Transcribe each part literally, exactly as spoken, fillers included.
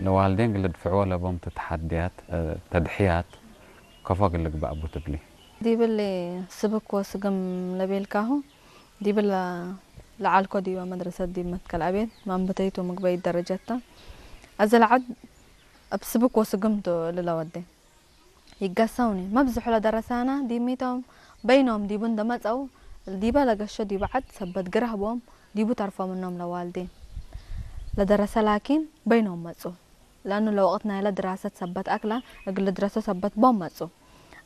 ለዋልዴን እግል ልድፍዕዎ ለቦም ተሐድያት፣ ተድሕያት ከፎ እግል ልግበእ ቡ ትብሊ? ዲብሊ ስብክ ወስግም ለቤልካሁ፣ ዲብለ ለዐልኮ ዲበ መድረሰት ዲብ መትከል አቤት ማንበተይቱ ምግበይት ደረጀት ተ። አዜ ለዐድ እብ ስብክ ወስግም ቱ እሊ ለወዴ። ይገሰውኒ መብዝሑ ለደረሳና ዲብ ሚቶም በይኖም ዲቡ እንደ መጸው፣ ዲበ ለገሾ ዲቡ ዐድ ሰበት ግራህ ቦም ዲቡ ተርፎ ምኖም ለዋልዴን ለደረሰ ላኪን በይኖም መጹ። ለእኑ ለወቅት ናይለ ድራሰት ሰበት አክለ እግል ልድረሶ ሰበት ቦም መጹ።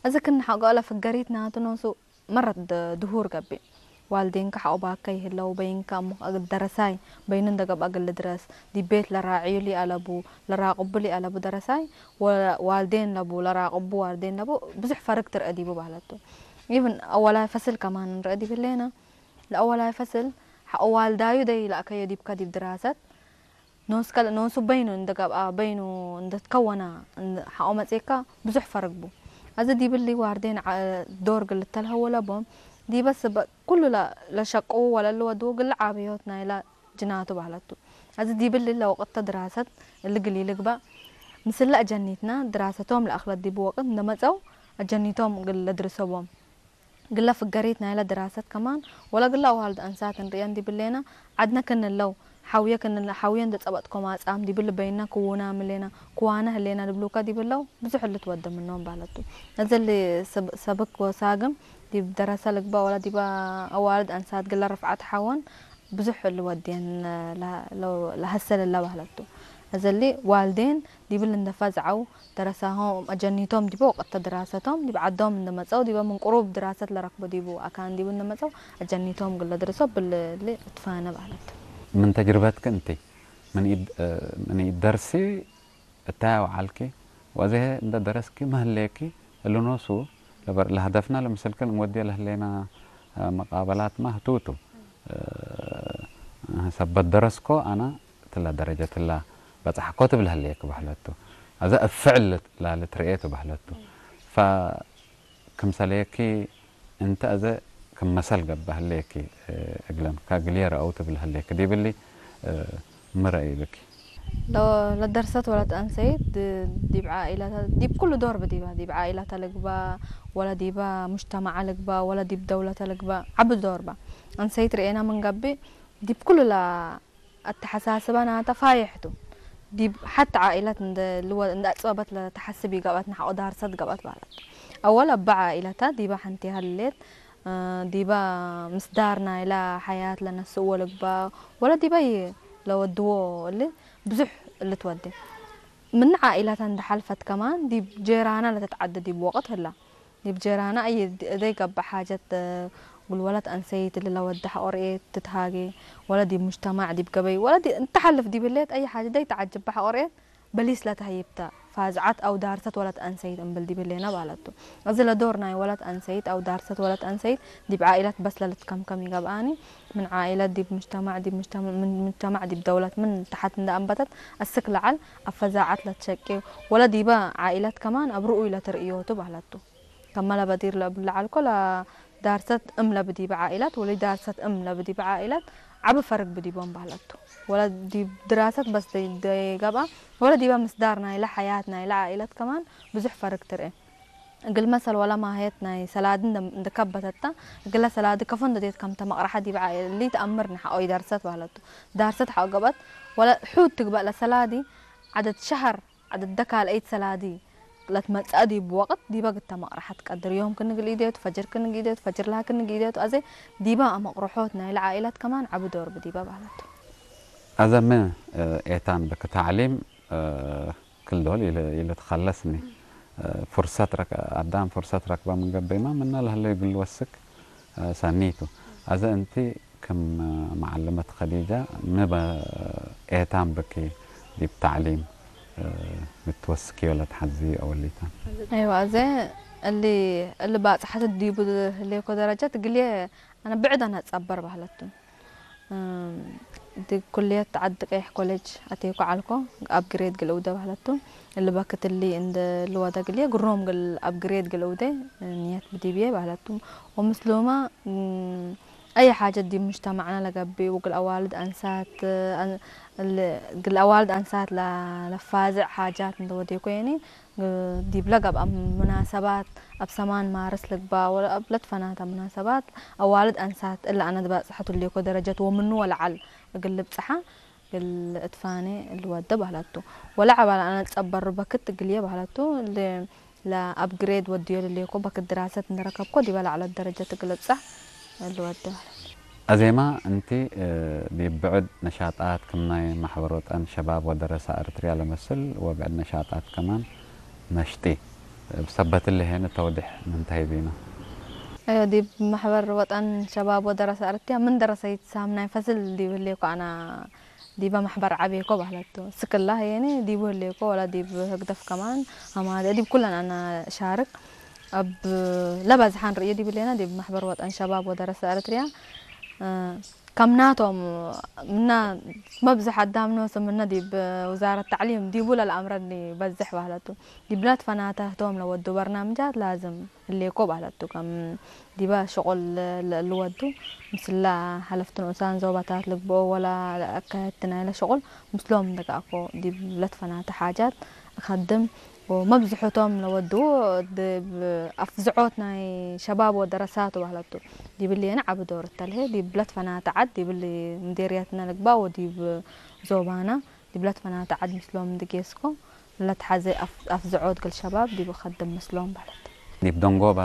እዚ ክነ ሐቆ ለፍገሪት ናቱ ኖሱ መረት ድ-፣ ድሁር ገብእ። ዋልዴንከ ሐቆባከ ይህለው በይንከ እሙክ እግል ደረሳይ በይኑ እንደ ገብአ እግል ልድረስ ዲብ ቤት ለራዕዩ ሊአለቡ ለራቅቡ ሊአለቡ ደረሳይ ወ-፣ ዋልዴን ለቡ ለራቅቡ ዋልዴን ለቡ ብዙሕ ፈርግ ትርአ ዲቡ በህለቱ። ኢብን አወላይ ፈስል ከማን እንርአ ዲብ ህሌነ። ለአወላይ ፈስል ሐቆ ዋልዳዩ ደይ ለአከዮ ዲብከ ዲብ ድራሰት ኖስከ ኖሱ በይኑ እንደ ገብአ በይኑ እንደ ትከወና እንደ ሐቆ መጽኤካ ብዙሕ ፈርግ ቡ። አዜ ዲብሊ ዋርዴን ዓ-፣ ዶር እግል ልተልሀው ለቦም ዲበ ስበ ኩሉ ለ-፣ ለሸቅዉ ወለልወድዉ እግል ዓብዮት ናይላ ጅናቱ በህለቱ። አዜ ዲብሊ ለወቅት ድራሰት እሊ እግል ኢልግበእ ምስለ አጀኒትና ድራሰቶም ለአክለት ዲቡ ወቅት እንደ መጸው አጀኒቶም እግል ለድርሶ ቦም። እግለ ፍገሪት ናይለ ድራሰት ከማን ወለእግለ አዋልድ አንሳት እንርእየን ዲብ ህሌነ፣ ዐድነ ክንለው ሐውየ ክንለ-፣ ሐውየ እንደ ጸበጥኮ ማጻም ዲብሊ በይነ ክዉናም ህሌነ፣ ክዋነ ህሌነ ልብሉከ ዲብ ህለው ብዙሕ ልትወደ ምኖም በህለቱ። እሊ ሰብ-፣ ሰብክ ወሳግም ዲብ ደረሰ ልግበእ ወለ ዲበ አዋልድ አንሳት እግለ ርፍዐት ሐወን ብዙሕ ልወድየን ለ-፣ ለ-፣ ለሀሰል እለ በህለቱ። እሊ ዋልዴን ዲብል እንደ ፈዝዐው፣ ደረሳሆም አጀኒቶም ዲበ ወቅት ድራሰቶም ዲብ ዐዶም እንደ መጸው፣ ዲበ ምን ቅሩብ ድራሰት ለረክቦ ዲቡ አካን ዲቡ እንደ መጸው፣ አጀኒቶም እግል ለድርሶ እብል እሊ እትፋነ በህለት። ምን ተጅርበትክ እንቲ፣ ምን ኢድ-፣ ምን ኢደርሲ እታይ ወዐልኪ፣ ወአዜ እንደ ደረስኪ ሚ ህሌኪ፣ እሊ ኖሱ ለበር-፣ ለሀደፍና ለምስልክን እንወድየ ለህሌና መቃበላትመ ህቱቱ። ሰበት ደረስኮ አነ እትላ ደረጀት እላ በጽሐኮ ትብል ህሌክ በህለቱ። አዜ እብ ፍዕል ላልትርኤ ቱ በህለቱ። ፈክምሰሌኪ እንቲ አዜ ክም መሰል ገብአ ህሌኪ፣ እግለም ከእግልዬ ረአው ትብል ህሌክ ዲብሊ፣ ሚ ረአይ ብኪ? ለ-፣ ለደርሰት ወለት አንሰይት ድ-፣ ዲብ ዓኢላተ፣ ዲብ ኩሉ ዶር ብዲበ፣ ዲብ ዓኢላተ ልግበእ፣ ወለ ዲበ ሙጅተመዐ ልግበእ፣ ወለ ዲብ ደውለተ ልግበእ፣ ዐቢ ዶር በ። አንሰይት ርኤና ምን ገብእ፣ ዲብ ኩሉ ለአተሐሳስበ ናተ ፋይሕ ቱ። ዲብ ሐት ዓኢለት እንደ ልወ-፣ እንደ አጽበበት ለተሐስብ ኢገብአት፣ ነሐቆ ዳርሰት ገብአት በህለት። አወል እበ ዓኢለተ ዲበ ሐንቴ ሀሌት፣ ዲበ ምስዳር ናይለ ሐያት ለነስእዎ ልግበእ ወለ ዲበ ለወድዎ እሊ ብዙሕ ልትወዴ። ምን ዓኢላት እንደ ሐልፈት ከማን ዲብ ጄራና ለትትዐደ ዲብ ወቅት ህላ። ዲብ ጄራና አየ እደይ ገብእ ሓጀት እግል ወለት አንሰይት እሊ ለወደ ሐቆ ርኤት ትትሃጌ፣ ወለ ዲብ ሙጅተማዕ ዲብ ገበይ ወለ ዲ-፣ እንተ ሐልፍ ዲብ ህሌት አየ ሓጀት ደይ ተዐጅበ ሐቆ ርኤት በሊስ ለተህይብ ተ። ፋዝዐት አው ዳርሰት ወለት አንሰይት እምብል ዲብ ህሌነ በህለት ቱ። እዚ ለዶር ናይ ወለት አንሰይት አው ዳርሰት ወለት አንሰይት ዲብ ዓኢለት በስ ለልትከምከም ኢገብአኒ። ምን ዓኢለት ዲብ ሙጅተማዕ፣ ዲብ ሙጅተማዕ፣ ምን ሙጅተማዕ ዲብ ደውለት ምን ተሐት እንደ አንበተት አስክ ለዐል አፈዛዐት ለትሸቄ ወለ ዲበ ዓኢለት ከማን አብ ርኡይ ለትርእዮ ቱ በህለት ቱ። ከመ ለበዲር ለእብል ለዐልኮ ለዳርሰት እም ለብዲበ ዓኢላት ወለዳርሰት እም ለብዲበ ዓኢላት ዐቢ ፈርግ ብዲቦም በህለት ቱ። ወለ ዲብ ድራሰት በስ ደይ-፣ ደይገብአ፣ ወለ ዲበ ምስዳር ናይለ ሐያት ናይለ ዓኢላት ከማን ብዙሕ ፈርግ ትርኤ። እግል መሰል ወለ ማህየት ናይ ሰላዲ እንደ፣ እንደ ከበተት ተ፣ እግለ ሰላዲ ከፎ እንደ ዴት ከምተ መቅረሐ ዲብ ዓኢል እሊ ተአምር ነሐቆ ኢዳርሰት በህለት ቱ። ዳርሰት ሐቆ ገብአት ወለ ሑድ ትግበእ ለሰላዲ ዐደት ሸሀር ዐደደ ካልአይት ሰላዲ ለትመጽአ ዲብ ወቅት ዲበ ግተ መቅረሐት ቀድር ዮም ክን እግል ኢዴቱ፣ ፈጅር ክን እግል ኢዴቱ፣ ፈጅር ለሀ ክን እግል ኢዴቱ፣ አዜ ዲበ አመቅረሖት ናይለ ዓኢላት ከማን ዐቢ ዶር ብዲበ በህለት ቱ። አዜ ሚ ኤታን ብክ ተዕሊም ክል ዶል ኢለ-፣ ኢልትከለስኒ ፍርሰት ረክ-፣ አዳም ፍርሰት ረክበ ምን ገብእመ ምነ ለህለ እግል ልወስክ ሰኒ ቱ። አዜ እንቲ ክም መዐልመት ከዲጃ፣ ሚ በ-፣ ኤታን ብኪ ዲብ ተዕሊም፣ እ፣ ልትወስክዮ ለትሐዝዩ አወሊታን? አይወ፣ አዜ እሊ፣ እሊ ባጽሐት ዲቡ ህሌኮ ደረጀት እግልዬ አነ ብዕድ አነ አትጸበር በህለት ቱ። እም፣ ዲብ ኩልየት ዐዲ ቀይሕ ኮሌጅ አቴኮ ዐልኮ፣ አፕግሬድ እግል እውደ በህለት ቱ። እሊ በክት እሊ እንደ ልወደ እግልዬ ግሮም እግል አፕግሬድ እግል እውደ ንየት ብዲብዬ በህለት ቱ። ወምስሉመ፣ እም፣ አይ ሓጀት ዲብ ሙጅተማዕና ለገብእ ወእግል አዋልድ አንሳት፣ አን-፣ ል-፣ እግል አዋልድ አንሳት ለ-፣ ለፋዝዕ ሓጃት እንዴ ወዴኮ የኒ፣ ግ-፣ ዲብለ ገብአ ሙናሰባት፣ አብ ሰማን ማርስ ልግባእ ወለ አብ ለትፈናተ ሙናሰባት፣ አዋልድ አንሳት እለ አነ ትባጽሐቱ ህሌኮ ደረጀት ወምኑ ወለዐል እግል ልብጽሐ፣ እግል እትፋኔ እልወደ በህለቱ። ወለዐባል አነ ጸበሩ በክት እግልዬ በህለቱ። ለ-፣ ለአፕግሬድ ወድዮ ልሌኮ በክት ድራሰት እንደ ረከብኮ ዲበ ለዐለት ደረጀት እግል እብጸሕ እልወደ በህለቱ። አዜማ እንቲ፣ እ፣ ዲብ ብዕድ ነሻጣት ክም ናይ መሕበር ወጠን ሸባብ ወደረሰ ኤረትርያ ለመስል ወብዕድ ነሻጣት ከማን ነሽጢ። እብ ሰበት እሊ ሄነ ተውዲሕ ምንታይ ቢና? አዮ፣ ዲብ መሕበር ወጠን ሸባብ ወደረሰ ኤረትርያ ምን ደረሰይት ሳም ናይ ፈስል ዲብ ህሌኮ አና ዲበ መሕበር ዐቤኮ በህለቱ። ስክላ ህዬኒ ዲቡ ህሌኮ ወላ ዲብ ህግደፍ ከማን ሀማደ ዲብ ኩለን አነ ሻርክ። እብ ለበዝሐን ርእዩ ዲብ ህሌነ ዲብ መሕበር ወጠን ሸባብ ወደረሰ ኤረትርያ፣ እ፣ ከምናቶም ምነ መብዝሕ አዳም ኖሱ ምነ ዲብ ውዛረት ተዕሊም ዲቡ ለለአምረኒ በዝሕ በህለቱ። ዲብ ለትፈናተ ህቶም ለወዱ በርናምጃት ላዝም ህሌኮ በህለቱ። ከም ዲበ ሽቁል ለ-፣ ለእልወዱ ምስለ ሐለፍት ንኡሳን ዞባታት ልግብኦ ወለ ለአካየድቲ ናይለ ሽቁል ምስሎም እንደ ገአኮ ዲብ ለትፈናተ ሓጃት እከድም ወመብዝሖቶም ለወዱ ዲብ አፍዝዖት ናይ ሸባብ ወደረሳት በህለቱ። ዲብ እሌነ ዐቢ ዶር እተልሄ ዲብ ለትፈናተ ዐድ ዲብ እሊ ምዴርየትነ ልግባእ ወዲብ ዞባና ዲብ ለትፈናተ ዐድ ምስሎም እንደ ጌስኮ ለትሐዜ አፍ-፣ አፍዝዖት እግል ሸባብ ዲብ እከድም ምስሎም በህለት። ዲብ ደንጎበ፣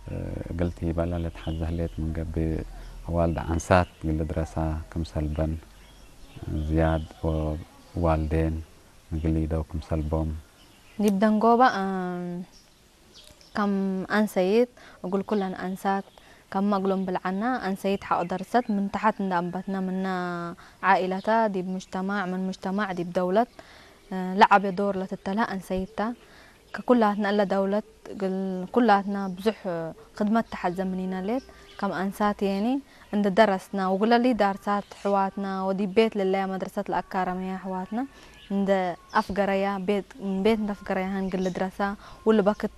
እ፣ እግል ቲበለ ለትሐዜ ህሌት ምን ገብእ፣ አዋልድ አንሳት እግል ልድረሳ ክምሰልበን ዝያድ ወዋልዴን እግል ኢደው ክምሰልቦም። ዲብ ደንጎበ፣ እ፣ ከም አንሰይት እግል ኩለን አንሳት፣ ከመ እግሎም ብልዐና፣ አንሰይት ሐቅ ደርሰት ምን ተሐት እንደ አንበትነ ምነ ዓኢለተ ዲብ ሙጅተማዕ፣ ምን ሙጅተማዕ ዲብ ደውለት፣ እ፣ ለዐቤ ዶር ለትተልሀ አንሰይት ተ። ከኩላትነ እለ ደውለት እግል ኩላትነ ብዙሕ ክድመት ተሐዜ ምኒነ ሌት፣ ከም አንሳት የኒ እንደ ደረስነ፣ ወእግለ ሊዳርሳት ሕዋትነ ወዲብ ቤት ልለየ መድረሰት ለአካረመየ ሕዋትነ እንደ አፍገረያ፣ ቤት፣ ቤት እንደ አፍገረያህን እግል ልድረሳ፣ ወለበክት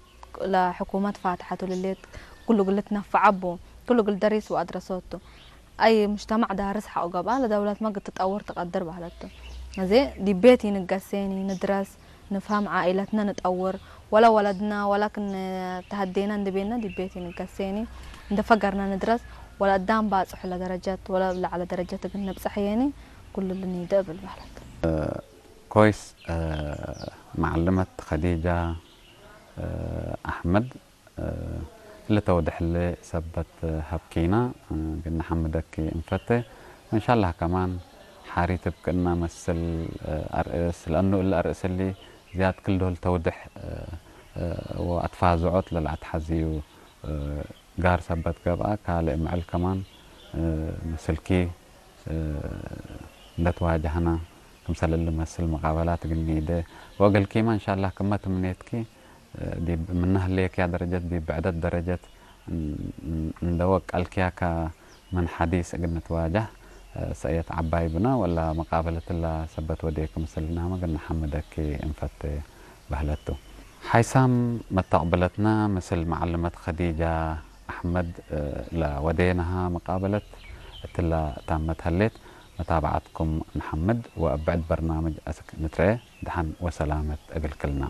ለሕኩመት ፋትሐቱ ልሌት፣ ኩሉ እግል ልትነፈዐ ቡ፣ ኩሉ እግል ደሪስ ወአድረሶቱ። አይ ሙጅተማዕ ዳርስ ሐቆ ገብአ፣ ለደውለትመ እግል ትጠውር ትቀድር በህለቱ። አዜ ዲብ ቤት ኢንገሴኒ፣ ንድረስ፣ ንፍሀም፣ ዓኢለትነ ንጠውር፣ ወለ ወለድነ ወለ ክነ ተሀዴነ እንዴ ቤነ ዲብ ቤት ኢንገሴኒ፣ እንዴ ፈገርነ ንድረስ፣ ወለአዳም ባጽሑ ለደረጀት፣ ወለ ለዐለ ደረጀት እግል ንብጸሕ የኒ፣ ኩሉ ልኒደ እብል በህለት። ኮይስ፣ እ፣ መዐልመት ከዲጃ፣ እ፣ አሕመድ፣ እ፣ እሊ ተውድሕሊ ሰበት ሀብኪና፣ እ፣ እግል ነሐምደኪ እንፈቴ። ወእንሻላህ ከማን ሓሪት እብ ክእነ መስል፣ እ፣ አርእስ፣ ለአኑ እሊ አርእስ እሊ ዝያድ ክል ዶል ተውድሕ፣ እ፣ እ፣ ወአትፋዝዖት ለለአትሐዝዩ፣ እ፣ ጋር ሰበት ገብአ፣ ካልእ ምዕል ከማን፣ እ፣ ምስልኪ፣ እ፣ እንደ ትዋጀህነ፣ ክምሰል እሊ መስል መቃበላት እግል ኒዴ ወእግልኪመ፣ እንሻላህ፣ ክመ ትምኔትኪ፣ እ፣ ዲብ ምነ ህሌክያ ደረጀት፣ ዲብ ብዕደት ደረጀት፣ እን-፣ እን-፣ እንደ ወቀልክያ ከምን ሐዲስ እግል ንትዋጀህ፣ እ፣ ሰእየት ዐባይ ብነ፣ ወላ መቃበለት እላ ሰበት ወዴክ ምስልናመ እግል ነሐምደኪ እንፈቴ በህለት ቱ። ሓይሳም መተቅብለትነ ምስል መዐልመት ከዲጃ አሕመድ፣ እ፣ ለወዴነሃ መቃበለት እትላ ታመት ሀሌት። መታብዐትኩም ነሐምድ ወእብ ብዕድ በርናምጅ አስክ ንትረኤ። ደሐን ወሰላመት እግል ክልና።